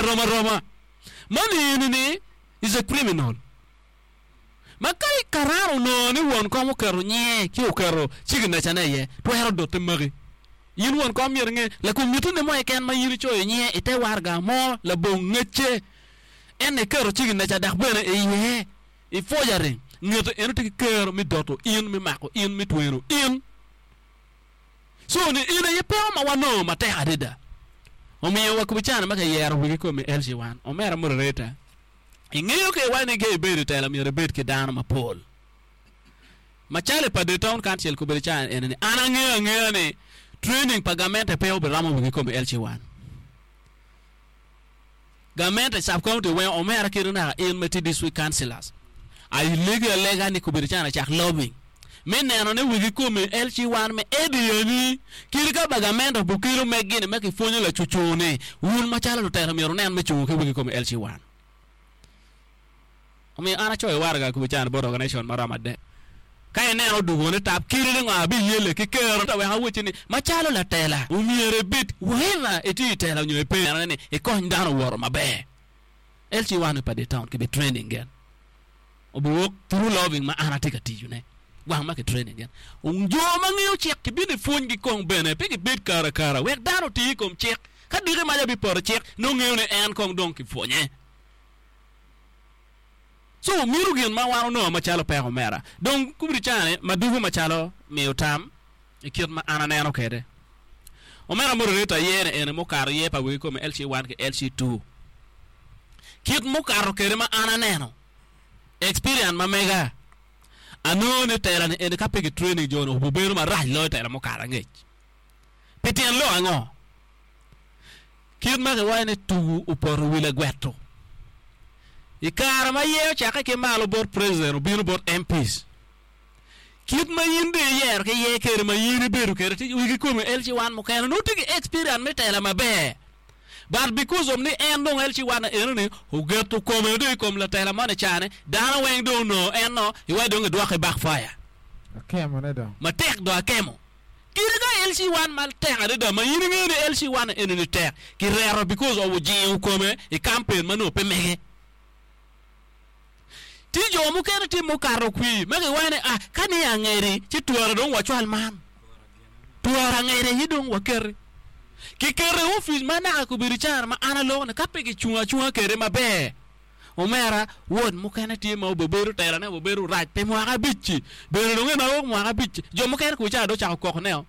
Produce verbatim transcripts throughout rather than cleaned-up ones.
Rom aroma man eni-ni is a criminal ma ka karan onongo ni won kom oketo nyinge ci oketo ciginacane iye twero dote maki. In won kom myero inge lakom mitine mo keken ma in icoyo nyinge i te waraga mo labong ngecce en iketo ciginaca dok bene iye i forgery ngete eno tye ki kero me doto in me mako in me tweno in. So ni in aye peko ma wanongo matek adada. Omiyo wa kubi cana ma kiyero wigi komi L C one omera moderator ingeyo ke iwaco ni ka ibedo i tela myero ibed ki dano mapol. Macalo pa the town council kobedo cana eni ni an angeyo angeya ni training pa gamente pe obiromo wigi komi L C one. Gamente sub county weng omera kede naka in ma tye district councillors alegi alega ni kobedo cana cak lobbying me neno ni wigi komi L C one me edi kadi ka ba gamente obokelo meg gini me kipwonyo lacucu-ni wun macalo lutelo myero wunen me cungo ki wigi komi L C one. Omiyo an acoyo waraga kobedo cana bot organization maromo adek ka ineno odugo ni tap kidi ni ngo abiyele ki kero wek awacci ni macalo latela omyero ibed whoever itye i tela nyo ipe neno ni ikony dano owoto maber. L C one pa the town kibi training gen obiwok through lobbying ma an atye ka tiyone gwang ma ki training gen jo ma ngeyo cik kibino i pwonygi kong bene pe gibed kara kara wek dano oti i kom cik ka diki maca bipoto cik nongo ngeyo ni en kong dong kipwonye. So mito gin ma wan onongo macalo peko omera dong kubedi cani madugo macalo miyo tam i kit ma an aneno kede omera moderator yene ene mukato ye pa wegi kome L C one ki L C two kit mukato kede ma an aneno experience ma mega anongo ni tela ni eni ka pe ki training jo ni obibedo marac loyo tela mukato angec pi tyen lok ango kit ma kiwaco ni tugu opoto i wi lagweto i kare ma ye ocakke ki malo bot president obino bot M Ps kit ma in dong iyero ki ye kede ma in ibedo kede ti wigi komi L C one mukene nongo tye ki experience me tela maber, but because of ni en dong L C one eno ni ogeto kome dong i kom latela moni cane dano weng dong onongo en no iwaci dong idwoke backfire. Akemone dong. Matek dong akemo kadi ka L C one matek adada ma in ingeyo ni L C one eni ni tek kireto because of ojingo kome i campaign ma nongo pe mege. Tye jo mukene tye mukato kwi ma kiwaco ni ah ka ni angedi ci twara dong wacwal man twara angedi aye dong waketi kiketo i ofic ma naka kobedo cana ma an aloko ni ka pe gicungo acunga kede maber omera wod mukene tye ma obebedo telane obebedo rac pi mwaka abic-ci bene dong en awok mwaka abic jo mukene kuca dong ocako kokone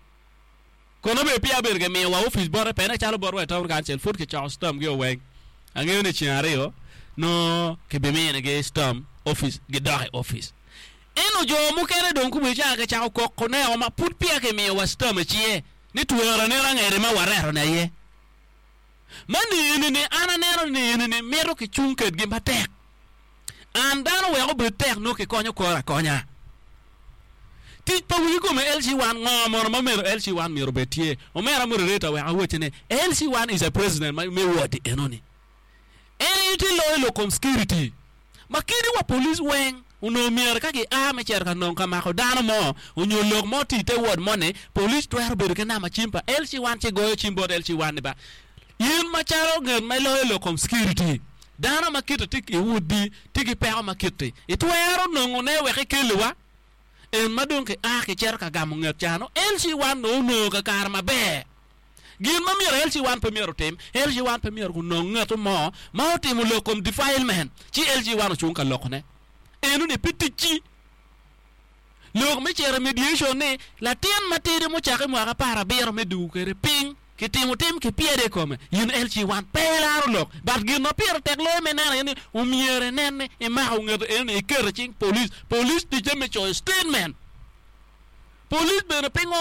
kono bene peya bedo kimiyo wa ofic bote pene calo botwa i town council pud kicoko stamp gi oweng angeyo ni ceng aryo no kibiminigi stamp ofic gidok i ofic eno jo mukene dong kubedo ca kicako kokoneo ma pud peya kimiyo wa stamp i cinge ni twara neno angede ma wareto ni aye ma ni ni an aneno ni ni mito kicung kedgi matek an dano wek obed tek nongo kikonyo kore akonya tic pa wigi kome L C one ngo mono ma myero L C one myero obed tye omera moderator wek awacci ni L C one is a president ma me ward enoni en aye tye loyo lok kom security ma kadi wa police weng onongo myero ka gia me cito ka nongo ka mako dano mo onyo lok mo tye i te ward moni police twero bedo ki namba cim pa L C one ci goyo cim bot L C one ni ba in macalo nget ma iloyo lok kom security dano ma kite tye i wodi tye ki peko ma kiti itwero nongone wek ikeliwa en ma dong kia kicito ka gamo nget cano L C one dong onongo kakare maber. Gin ma myero L C one pe myero otim L C one pe myero onong ngeto mo ma otimo lok kom defilement ci L C one ocung ka lokone eno ni pe ticci lok me cito i mediation ni latin matidi mucako i mwaka apar abiro me dugo kede piny kitimo tim kipyede i kome in L C one pe ilaro lok but gin ma pire tek loyo me neno aye ni omyero inen ni imako ngeto eno ni iketo i cing police police ticce me coyo statement police bene pe ngolo.